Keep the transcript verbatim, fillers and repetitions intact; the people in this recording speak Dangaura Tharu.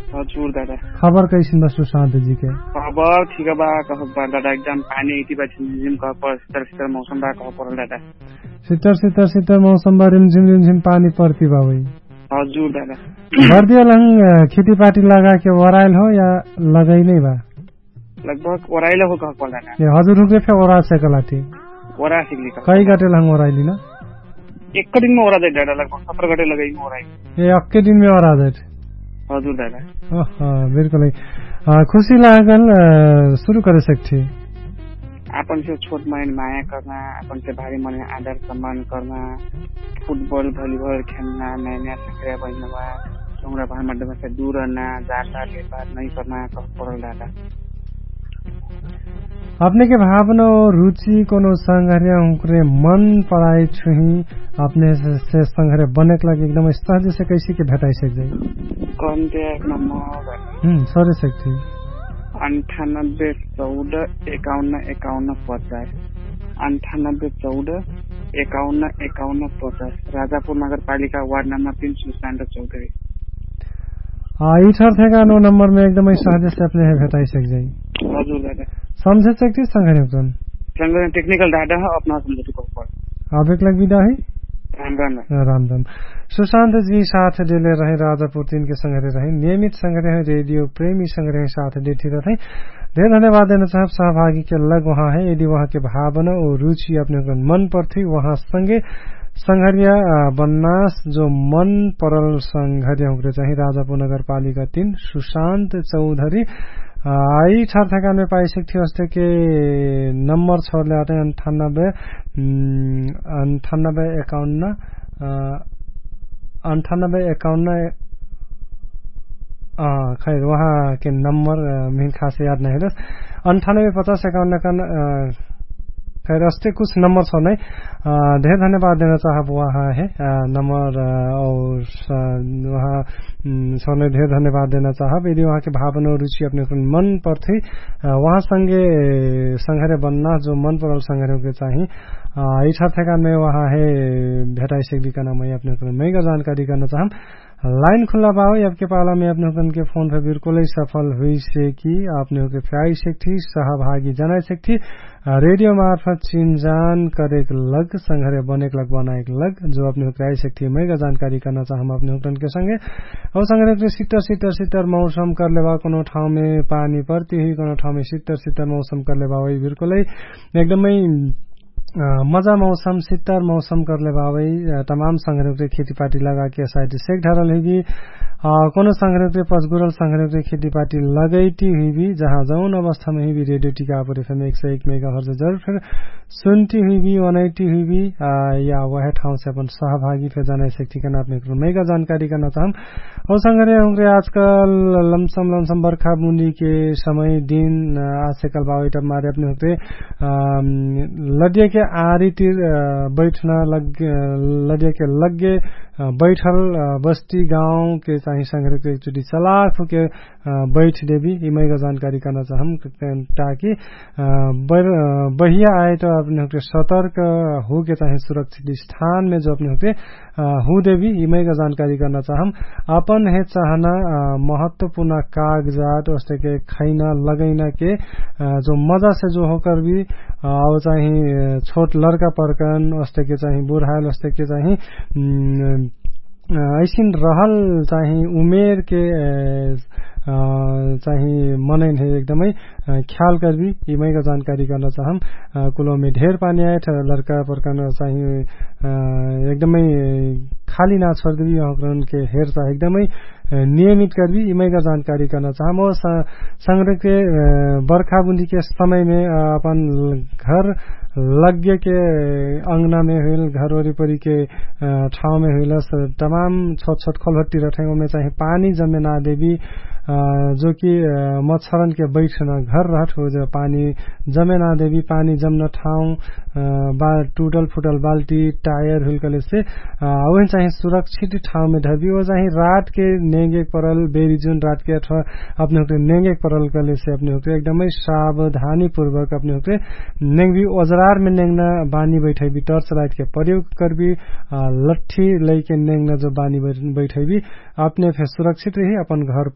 हजुर दादा। खबर कैसिन बा सुशान्तजीके? खबर ठिक बा, कह बा दादा, एकदम पानी इति बा झिमझिम कह पर सितर सितर मौसम बा कह परल दादा। सितर सितर सितर मौसम बा, रिमझिम रिमझिम पानी परती बा वही। हजुर दादा। भर्दिया लहङ खेतीपाटी लगाके ओराइल हो या लगै नै बा? लगभग ओराइल हो कह परल दादा। ए हजुर रुपे फे ओरा सकलाटी? ओरा सिकली कह। कै गटे लहङ ओराइली न? एक दिनमे ओरा जाइत दादा, लगभग सत्र गटे लगैमे ओराइ। ए अक्के दिनमे ओरा जाइत? हजुर दादा। अह, बिल्कुल है। खुशी लागल। सुरु करे सकथी। आपन से छोट मन माया कर्ना, आपन से भारी मन आदर सम्मान कर्ना, फुटबल भलिबल खेल्ना, नयाँ नयाँ सक्रिया बहिनवा, चौरा भार मध्यम से दूर रहना, जाता भेदभाव नहीं करना कह परल दादा। अपने के भावना और रुचि कोनो संघर्या हुँकरे मन पराई छुही, अपने से संघर्या बनेक लागि एकदम सहज से कैसी के भेटाई सक जाई? कन्ते एक नम्बर। हम्म सरे सकती। अन्ठानब्बे चौध एकाउन्न एकाउन्न पचास। अन्ठानब्बे चौध एकाउन्न एकाउन्न पचास, राजापुर नगरपालिका वार्ड नम्बर तीन सुशान्त चौधरी। यी ठर थेका नौ नम्बर में एकदमै सहज से अपने है भेटाई सक जाई। हजुर दादा। समझे सकती संघर्या हुँकरे? संघर्या टेक्निकल दादा है अपना समझे तो कह पर। अब एक लग विदा है। राम राम। राम राम। सुशान्त जी साथ देले रहे राजापुर तीन के संघर्या रहे, नियमित संघर्या है, रेडियो प्रेमी संघर्या है साथ देती रहते हैं। धेर धन्यवाद देना चाहब सहभागी के लग वहाँ है। यदि वहाँ के भावना और रुचि अपने हुँकरन मन पर्थी वहाँ संगे संघर्या बन्नास जो मन परल संघर्या हुँकरे चाही राजापुर नगरपालिका तीन सुशान्त चौधरी। यी ठर थेकानमे पाइसक्थी अस्ते के नम्बर छोडले आटे अन्ठानब्बे अन्ठानब्बे एकाउन्न अन्ठानब्बे एकाउन्न। खैर वहाँ के नम्बर मिन खास याद नहीं रस। अन्ठानब्बे पचास एकाउन्न कन खैर अस्ते कुछ नम्बर छ नै। धेर धन्यवाद देना चाहब वहाँ है नम्बर और वहाँ छ नै धेर धन्यवाद देना चाहब यदि वहाँ के भावना रुचि अपने मन पर्थी वहाँ संगे संघर्या बन्ना जो मन परल संघर्या के चाही। यी ठर थेकानमे वहाँ है भेटाई सकदी कना मै अपने मैगा जानकारी करना चाहम। लाइन खुल्ला बावै अबके पालामे अपने हुँकरन के फोन फे बिल्कुलै सफल हुइसे कि अपने हुँके फ्याइ सेक्ठी सहभागी जनाइ सेक्ठी। रेडियो मार्फत चिनजान करेक लग संघर्या बनेक लग बनाएक लग जो अपने हुँकरे आइ सेक्ठी मैगा जानकारी करना चाहम अपने हुँकरन के संगे। औ संघर्या हुँकरे सित्तर सित्तर सित्तर मौसम करले बा कोनो ठाउँमे पानी परती हुइ कोनो ठाउँमे सित्तर सित्तर मौसम करले बा वही बिल्कुलै एकदमै मजा मौसम सित्तर मौसम करले बावै तमाम संघर्या हुँकरे खेतीपाटी लगाके साइड सेक ढरल हुइबी। कोनो संघर्या हुँकरे पचगुरल संघर्या हुँकरे खेतीपाटी लगैटी हुइबी जहाँ जौन अवस्थामे हुइबी रेडियो टिका पर एफएम एक सय एक मेगा हर्ज जरुर फेर सुन्टी हुइबी वनैटी हुइबी। या वहे ठाउँसे अपन सहभागी फेर जनाइ सेक ठिकाना अपने हुँकरे मैगा जानकारी करना चाहम। औ संघर्या हुँकरे आजकल लमसम लमसम बर्खा बुन्दी के समय दिन आजकल बावै तब मारे अपने हुँकरे लदिया के आरी तिर बैठना लग लदिया के लग्गे बैठल बस्ती गाउँ के चाही संघर्या हुँकरे एकचोटी चलाख हुँके बैठ देबी यि मैगा जानकारी करना चाहम। ताकि बहिया आए त अपने हुँकरे सतर्क हुँके चाही सुरक्षित स्थानमे जो अपने हुँकरे हुँदेबी यि मैगा जानकारी करना चाहम। अपन हे चाहना महत्वपूर्ण कागजात ओस्ते के खैना लगैना के जो मजा से जो होकर भी औ चाही छोट लड़का परकन ओस्ते के चाही बुढायल ओस्ते के चाही ऐसिन रहल चाही उमेर के चाही मनैन हे एकदमै ख्याल करबी यि मैगा जानकारी करना चाहम। कुलोमे ढेर पानी आए लड़का परकन चाही एकदमै खाली ना छोडदेबी यहाँकरन के हेर चाह एकदमै नियमित करबी यि मैगा जानकारी करना चाहम। और संग्रह के बर्खा बुन्दी के समय में अपन घर लग्गे के अंगना में हुइल घर वरिपरी के ठाउँ में हुइल तमाम छोट छोट खोलहट्टी रठे ओमे चाही पानी जमे ना देबी। जो कि मच्छरन के बैठना घर रहत हो जो पानी जमे ना देबी पानी जमना ठाउँ बा टुटल फुटल बाल्टी टायर हुइल कहलेसे ओहिन चाही सुरक्षित ठाउँ में धरबी ओ चाही रात के नेंगे परल बेरी जुन रात के अथवा अपने हुक्रे नेंगे परल कहलेसे अपने हुक्रे एकदमै सावधानी पूर्वक अपने हुक्रे नेंगबी ओजरार में नेंगना बानी बैठैबी टर्च लाइट के प्रयोग करबी लट्ठी लैके नेंगना जो बानी बैठैबी अपने फे सुरक्षित रही अपन घर।